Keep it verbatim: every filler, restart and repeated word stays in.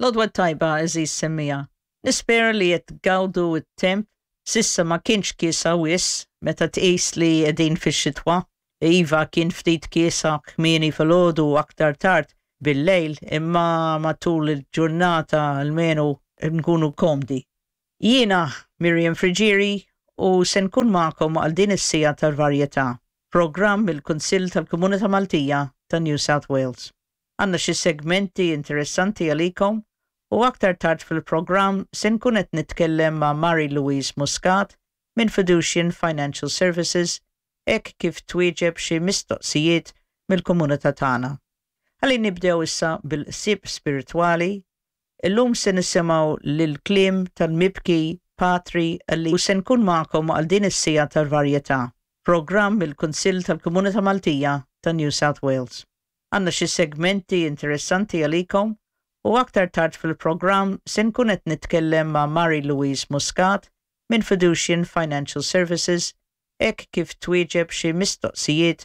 L-għodwa t-tajba, għeżież semmiegħa. Nispera li qed tgawdu t-temp. S'issa ma kienx kiesaħ wisq meta tqis li qegħdin fix-xitwa. Iva, kien ftit kiesaħ kmieni filgħodu, aktar tard bil-lejl, imma matul il-ġurnata almenu nkunu komdi. Jiena Miriam Friggieri u se nkun magħkom għal din is-siegħa tal-varjetà, programm mill-Kunsill tal-Komunità Maltija ta' New South Wales. Għandna xi segmenti interessanti għalikom u aktar tard fil-programm se nkun qed nitkellem ma' Mary Louise Muscat minn Fiducian Financial Services hekk kif twieġeb xi mistoqsijiet mill-komunità tagħna. Ħalli nibdew issa bil-ħsieb spiritwali. Illum se nisimgħu l-kliem tal-mibki Patri li u se nkun magħkom għal din is-siegħa tal-varjetà, programm mill-Kunsill tal-Komunità Maltija ta' New South Wales. Għandna xi segmenti interessanti għalikom u aktar tard fil-programm se nkun qed nitkellem ma' Mary Louise Muscat minn Fiducian Financial Services hekk kif twieġeb xi mistoqsijiet.